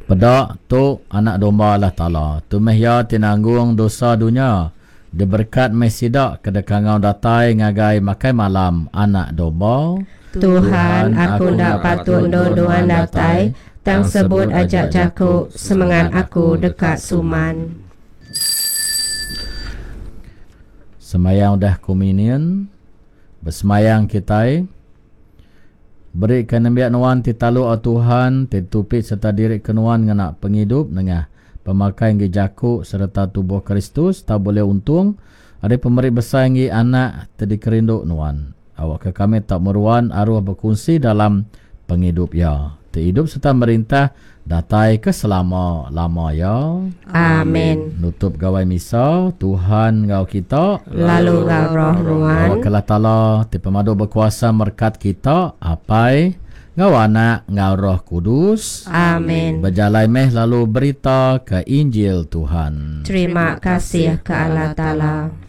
Peda, tu Anak Domba Allah Taala. Tu meh iya ti nanggung dosa dunya. Diberekat meh sida ke deka enggau datai ngagai makai malam Anak Domba. Tuhan, aku enda patut endur Nuan datai, tang sebut aja jaku, semengat aku deka suman. Sembahyang udah kommunion, besembahyang kitai. Berika nembiak Nuan ti taluk au Tuhan, ti ditupi sereta diri ke Nuan ngena pengidup nengah pemakai enggi jaku sereta tubuh Kristus tau bulih untung ari pemeri besai enggi Anak ti dikerindu Nuan. Awakka kami tau meruan aruh bekunsi dalam pengidup Iya, ti idup sereta merintah datai ke selama-lama iya. Amin. Nutup Gawai Misa, Tuhan enggau kita. Lalu enggau roh nuan. Awakka Allah Taala ti pemadu bekuasa merekat kita, Apai, enggau Anak, enggau Roh Kudus. Amin. Bejalai meh lalu berita ke Injil Tuhan. Terima kasih ke Allah Taala.